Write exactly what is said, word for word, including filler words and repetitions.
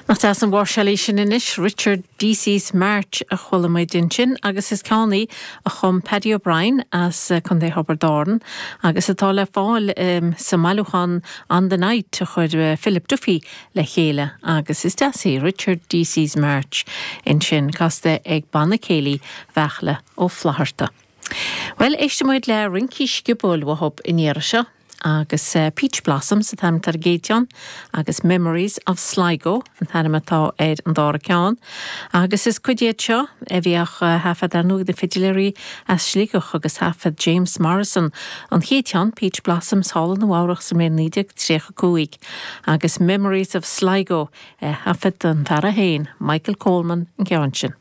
Nach deas an mháirseáil í sin anois Richard Deasy's March a chuala muid ansin agus is ceann í a chum Paddy O'Brien as Contae Thiobraid Árann agus atá le fáil um, sa mbailiúchán On the Night a chuir uh, Philip Duffy le chéile agus is deas í Richard Deasy's March ansin casta ag Banna Céilí Bheachla Ó Flatharta. Well éistfimid le rincí sciobóil uathub in iarra seo agus uh, Peach Blossoms atá ar an gcéad cheann agus Memories of Sligo an t-ainm atá ar an dara ceann. Agus is cuid iad seo a bhíodh uh, taifeadta ar ndóigh ag na fidiléirí as Sligeach agus thaifead James Morrison an chéad cheann Peach Blossoms thall i Nua-Eabhrac sa mbliain naoi déag tríocha cúig, agus Memories of Sligo uh, thaifead an fear féin Michael Coleman an ceann sin.